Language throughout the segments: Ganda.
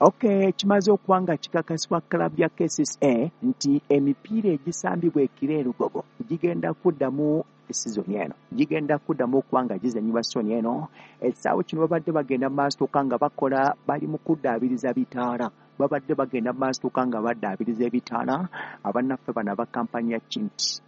Okay, kimaze okuba nga kikakasibwa club ya KCCA nti emipiira egisambibwa ekiro e Lugogo gigenda kuddamu sizoni eno, gigenda kuddamu okuba nga gizannyibwa sizoni eno. Ekisaawe kino babadde bagenda mu maaso nga bakola, bali mu kuddaabiriza bitaala, babadde bagenda mu maaso nga baddaabiriza ebitaala. Abannaffe bano aba kampani ya Chint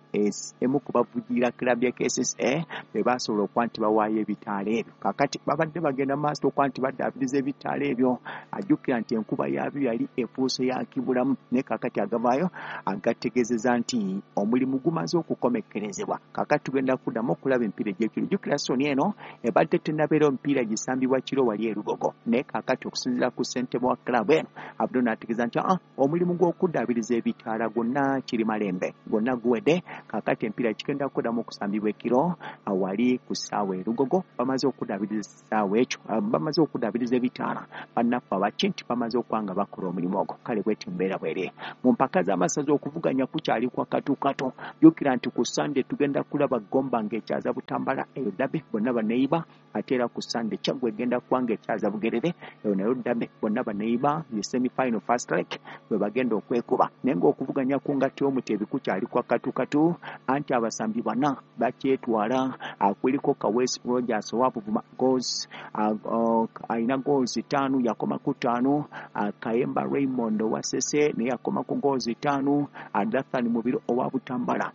emu ku bavujjirira club ya KCCA be baasobola okuba nti bawaayo ebitaala ebyo. Kaakati babadde bagenda mu maaso okuba nti baddaabiriza ebitaala ebyo, ajjukira nti enkuba yaabyo yali efuuse ya kibulamu, naye kaakati agavaayo agategeezeza nti omulimu gumaze okukomekkerezebwa. Kaakati tugenda kuddamu okulaba emipiira egy'ekiro. Jjukira sizoni eno ebadde tennabeerawo mipiira gisambibwa kiro wali e Lugogo, naye kaakati okusinziira ku ssentebe wa club eno Abdul n'ategeeza nti omulimu gw'okuddaabiriza ebitaala gwonna kiri malembe, gwonna guwedde. Kaakati emipiira gigenda kuddamu okusambibwa ekiro wali ku ssaawa e Lugogo. Bamaze okuddaabiriza essaawa ekyo, bamaze okuddaabiriza ebitaala, bannaffe abakinti bamaze okuba nga bakola omulimu ogwo. Kale bweti mbeera bweri mu mpaka z'amasaza, okuvuganya kukyali kwa katukato. Jjukira nti ku Sande tugenda kulaba Gomba ng'ekyaza Butambala, eyo derby, bonna baneyiba. Ate era ku Sande Kyaggwe egenda kuba ng'ekyaza Bugerere, eyo nayo derby, bonna baneyiba, ye semi final first leg bwe bagenda okwekuba. Naye ng'okuvuganya ku ngatto y'omuteebi kukyali kwa katukatu, anti abasambi bana bakyetwala. Kuliko Kaweesi Rogers owa Buvuma goals, alina goals 5, yakoma ku 5. Kayemba Raymond owa Ssese naye yakoma ku goals 5. Dathan Mubiru owa Butambala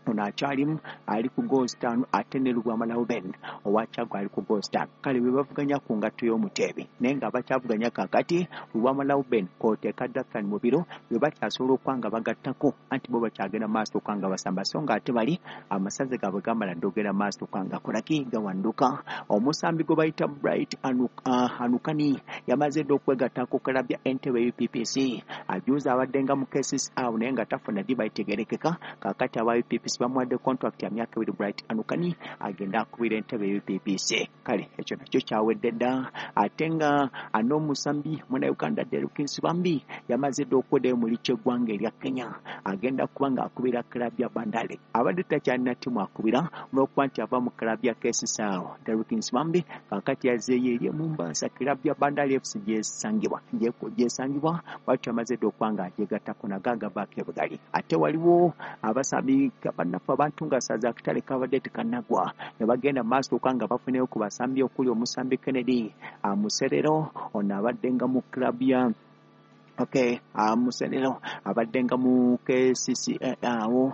ono akyalimu, ali ku goals 5, ate ne Lubwama Lauben owa Kyaggwe ali ku goals 5. Kale bwe bavuganya ku ngatto y'omuteebi, naye nga bakyavuganya kaakati Lubwama Lauben kw'oteeka Dathan Mubiru bwe bakyasobola okuba nga bagattako, anti bo bakyagenda mu maaso okuba nga basamba, so nga ate bali amasaza gaabwe gamala dda ogenda mu maaso okuba nga kolaki gawanduka. Omusambi gwe bayita Bright Anukani yamaze dda okwegatta ku club ya Entebbe UPPC. Ajuuza abadde nga mu KCCA awo naye nga tafuna ddiba itegeerekeka. Kaakati aba UPPC bamuwadde contract ya myaka 2, Bright Anukani agenda akubira Entebbe UPPC. Kale ekyo nakyo kyawedde dda. Ate nga n'omusambi Munnayuganda Derrick Nsibambi yamaze dda okweddayo mu liigi y'eggwanga erya Kenya, agenda kuba ng'akubira club ya Bandari. Abadde takyalina ttiimu akubira olw'okuba nti ava mu club ya KCCA awo. Derrick Nsibambi kaakati yazzeeyo eri e Mombasa, club ya Bandari FC gyesangibwa, bwatyo amaze dda okuba nga agyegattako nago agavaako ebugali. Ate waliwo abasambi bannaffe abantu nga saza akatale kabadde tekannagwa ne bagenda mu maaso okuba nga bafuneyo ku basambi, okuli omusambi Kennedy Muserero. Ono abadde nga mu club ya, okay, Muserero abadde nga mu KCCA awo,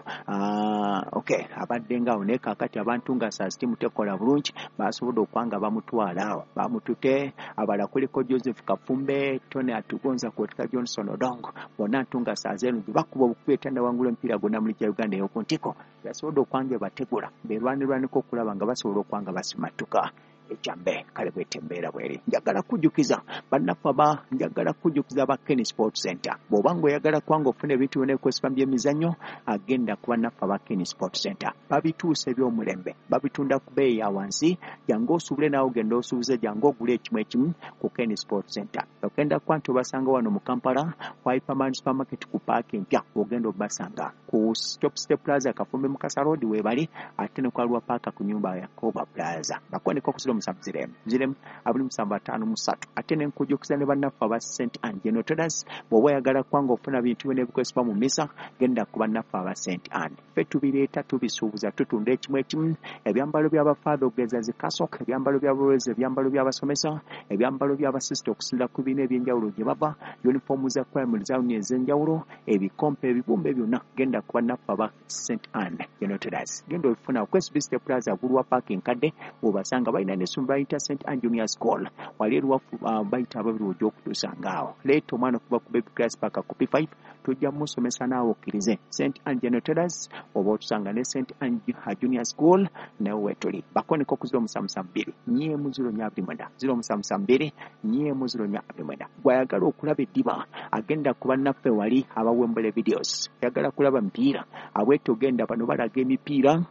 okay, abadde nga awo, naye kaakati abantu nga saa ttiimu tekola bulungi, basobodde okuba nga bamutwala awo, bamutute. Abalala kuliko Joseph Kafumbe, Tony Atugonza kwotika Johnson Odongo, bonna ntu nga saa zeeno gye bakuba obukubi etannawangula omupiira gwonna mu liigi ya Uganda ey'oku ntiko, yasobodde okuba nga ebategula berwanirwaniko okulaba nga basobola okuba nga basimattuka ekyambe. Kale bwete embeera bweri. Njagala kujjukiza bannaffe aba, njagala kujjukiza aba Ken Sport Center, bw'oba ng'oyagala kubanga ofuna ebintu byonna ebikozesebwa mu byemizannyo, agenda ku bannaffe aba Ken Sport Center. Babituusa eby'omulembe, babitunda ku bbeeyi ya wansi. Jangu osuubule naawe, ogenda osuubuze, jangu ogule ekimu ekimu ku Ken Sport Center. Ogenda kuba nti obasanga wano mu Kampala ku Hyperman Supermarket ku paaka empya, ogenda obasanga ku Stop Step Plaza, Kafumbe Mukasa Road weebali, ate ne ku Alwa Paaka ku nyumba ya Koba Plaza. Bakoneko ku 070 0 27 53. Ate ne nkujjukiza ne bannaffe aba St Ann General Traders, bw'oba oyagala kubanga ofuna bintu byonna ebikozesebwa mu mmisa, genda ku bannaffe aba St Ann. Ffe tubireeta, tubisuubuza, tutunda ekimu ekimu, ebyambalo by'abafaatha okugeza zi cassock, ebyambalo by'abalowezi, ebyambalo by'abasomesa, ebyambalo by'abasisita okusinziira ku bibiina ebyenjawulo gye bava, yunifoomu za primary zauni ez'enjawulo, ebikompe, ebibumbe byonna, genda ku bannaffe aba St Ann General Traders, genda obifuna ku SB City Plaza Gulwa Park enkadde bw'obasanga. Balina n'essomero bayita St Ann Junior School wali eruwafu, bayita ababiri ojja okutusanga awo. Leeta omwana okuva ku baby class paka ku P5, tujja musomesa naawe okkirize. St Ann General Traders oba otusanga ne St Ann Junior School naye weetuli. Bakoneko ku 072 4 0 4 29, 072 4 0 4 29. Gwayagala okulaba eddiba, agenda ku bannaffe wali abawembule videos. Oyagala kulaba mipiira, abwete ogenda, bano balaga emipiira.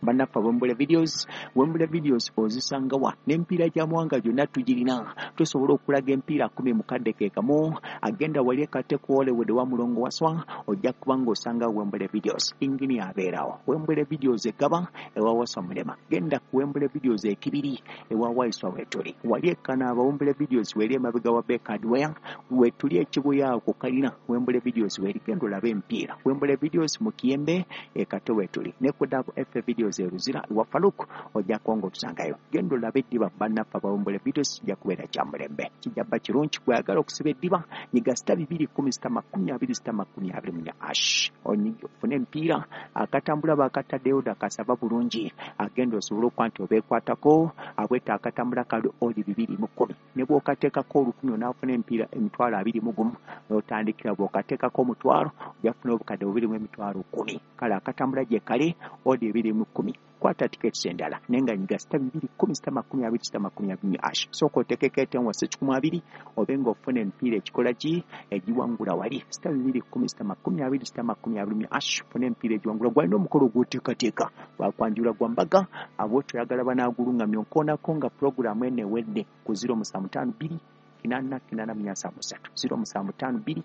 Bannaffe Wembule Videos, Wembule Videos ozisangawa n'emipiira gy'amawanga gyonna tugirina. Tusobola okulaga emipiira 10 mu kadde ke kamu. Agenda wali ekate ku Hollywood wa Mulongo Waswa, ojja kuba ng'osanga Wembule Videos. Ingini abeerawo. Wembule Videos egaba ewa Waswa Mulema. Genda ku Wembule Videos ekibiri ewa Waiswa wetuli. Wali ekanaaba Wembule Videos weri emabega wa Bekadware wetuli ekibuya ku kalina Wembule Videos weri. Genda olabe emipiira. Wembule Videos mu Kiyembe ekate wetuli. Ne ku Dab F Videos eruzira wa Faluk ojja kuba ng'otusangayo. Genda olabe eddiba bannaffe aba Wembule Videos kijja kubeera kya mulembe. Kijja bba kirungi gw'ayagala okusiba eddiba nyiga *2 10 *20 *24 hash. Ofune emipiira akatambula bakataddeyo dakasaba bulungi. Agenda osobola okuba nti obeekwatako abweta akatambula kali oli 210. Ne bw'okateekako 1000 onaafuna emipiira 21,000 n'otandikira bw'okateekako 5,000 ojja kufuna obukadde 2,100,000. Kale akatambula gye kali odi 210. Kwata tiketi endala naye nga nyiga *2 10 *20 *20 hash. Sooka oteekeko etenwa 120 obe ng'ofuna emipiira ekikola ki egiwangula wali *2 10 *20 *20 hash. Ofune emipiira egiwangula. Gwalina omukolo gw'oteekateeka gwakwanjula gwa mbaga abo toyagala banaagulungamya onkoonako nga pulogulaamu eno ewedde ku 0752 8 8 7 0752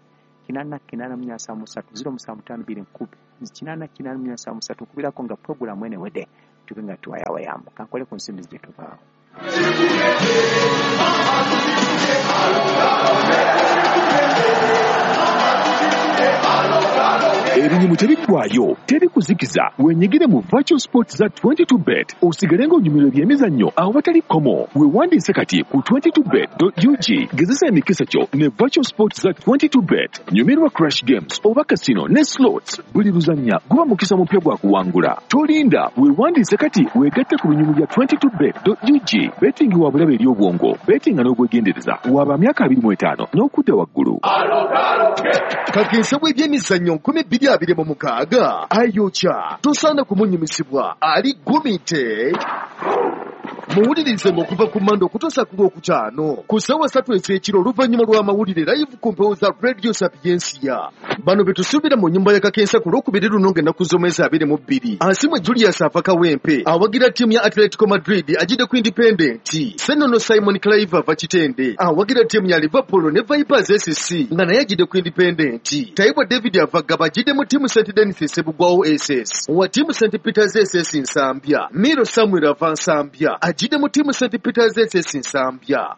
8 8 7 0752 8 8 7 nkubirako nga pulogulaamu eno ewedde tube nga tuwayawayamu. Kankole ku nsimbi gye tuvaawo. Ebinyumu tebiggwayo, tebikuzikiza. Wenyigire mu virtual sports za 22bet osigale ng'onyumirwa ebyemizannyo awatali kkomo. Weewandiise kati ku 22bet.ug. Gezesa emikisa kyo ne virtual sports za 22bet. Nyumirwa crash games oba casino ne slots. Buli luzannya guba mukisa mupya gwa kuwangula. Tolinda, weewandiise kati weegatte ku binyumu bya 22bet.ug. Betting wa bulabe eri obwongo, bettinga n'obwegendereza. Waba myaka 25 n'okudda waggulu. Kakensa w'ebyemizannyo 2026 ayokya tosaana kumunyumisibwa ali gumite. Muwulirize ng'okuva ku Mande okutuusa ku Lwokutaano ku ssaawa 3 ez'ekiro oluvannyuma lw'amawulire live ku mpewo za Radio Sapiensia. Bano be tusuubira mu nnyumba ya Kakensa ku Lwokubiri luno ng'ennaku z'omwezi 22. Asimwe Julius ava Kawempe awagira ttiimu ya Atletico Madrid agidde ku Independent. Ssennono Simon Clive ava Kitende awagira ttiimu ya Liverpool ne Vipers SC nga naye agidde ku Independent. Taibwa David ava Gaba agidde mu ttiimu St Denis Sebugwawo SS wa ttiimu St Peters SS Nsambya. Miro Samuel ava Nsambya agidde mu ttiimu St Peters SS Nsambya.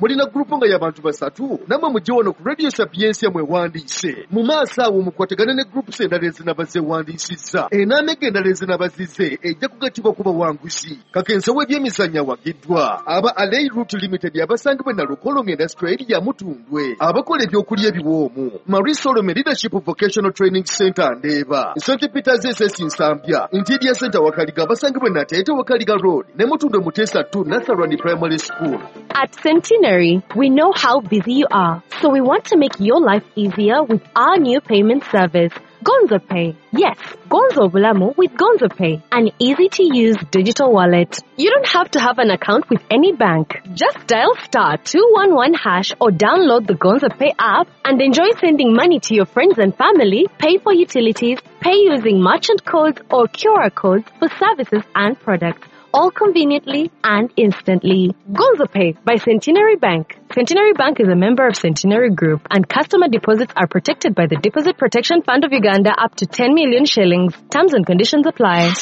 Mulina gurupu nga y'abantu basatu namwe mujje wano ku Radio Sapiensia mwewandiise. Mu maaso awo mukwatagane ne gurupu endala ezinaba zeewandiisizza. Enaamega endala ezinaba zizze ejja kugattibwa ku bawanguzi. Kakensa w'ebyemizannyo awagiddwa aba Alei Route Limited abasangibwa Nalukolongo Industrial Area Mutundwe, abakola ebyokulya ebiwoomu, Marie Solome Leadership Vocational Training Center Ndeeba, St Peters SS Nsambya, Interior Center Wakaliga abasangibwa Nateete Wakaliga Road ne Mutundwe Mutesa 2 Natharani Primary School. At Centenary, we know how busy you are, so we want to make your life easier with our new payment service, Gonzo Pay. Yes, Gonzo Bulamu with Gonzo Pay, an easy-to-use digital wallet. You don't have to have an account with any bank. Just dial *211# or download the Gonzo Pay app and enjoy sending money to your friends and family, pay for utilities, pay using merchant codes or QR codes for services and products, all conveniently and instantly. Gonzo Pay by Centenary Bank. Centenary Bank is a member of Centenary Group, and customer deposits are protected by the Deposit Protection Fund of Uganda up to 10 million shillings. Terms and conditions apply.